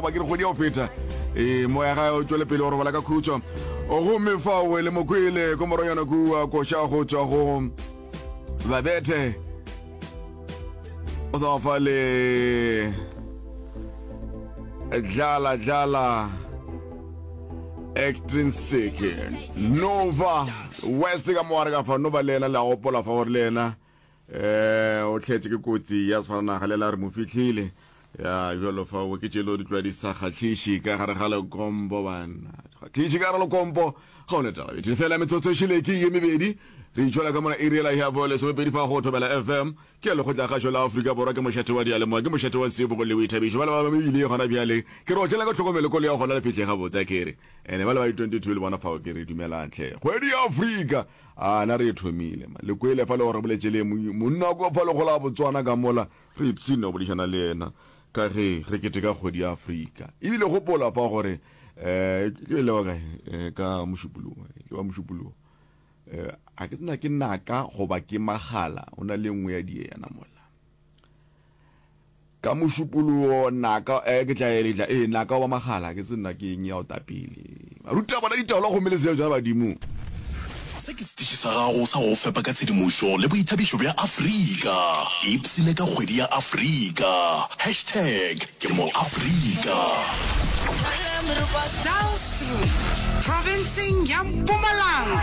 Ba ke re kgwedi ya go feta. Ee, moya gae o tšwele pele go robala ka khutšo. Gomme fao le mokwele ko moronyana kua koša go tšwa go Babethe. O sa fa le dlala dlala extrinsic Nova West ka mo ka fa Nova le yena le a gopola fa gore le yena Eh, o tlhetše ke kotsi ya sefalanaga le la re mo fihlile. Ya bjalo fa o ke tšelo di tloa di sa kgahliše ka gare ga lekompo banna. Kgahliše ka gare lekompo ga o ne taba. Bethe fela metsotso e šele ke ye mebedi. Re itšwela ka mona iri ela ya bo lesomepedi fa go Thobela FM. Ke lekgotla kgašo la Afrika Borwa ke mošate wa diyalemoya ke mošate wa tsebo le boithabišo. Ba le ba mebile gona bjale. Ke re otlela ka tlhokomelo kolo ya gona le fihle gabotse a kere. Ene ba le ba di 22 le bona fao ke re dumelang tlhe. Kgwedi ya Afrika. A na re e thomile ma. Le kwele fa le gore boletše le monna kwa fa le gola Botswana ka mola re ipshina go boledišana le yena ka ge re keteka kgwedi ya Afrika. Ebile gopola fa gore eh ke le wa kae eh, ka Mošupologo ke wa Mošupologo eh a ke tsena ke naka goba ke magala o na le nngwe ya diena mola. Ka Mošupologo naka eh ke tla e tla eh naka wa magala ke se nna ke eng ya o tapile. Ruta bona ditaola gomme le seo tša badimo. Se ke setiši sa gago sa go go fepa ka tshedimošo le boithabišo bja Afrika. Ipshine ka Kgwedi ya Afrika! Hashtag ke mo Afrika. Dullstroom, profenseng ya Mpumalanga.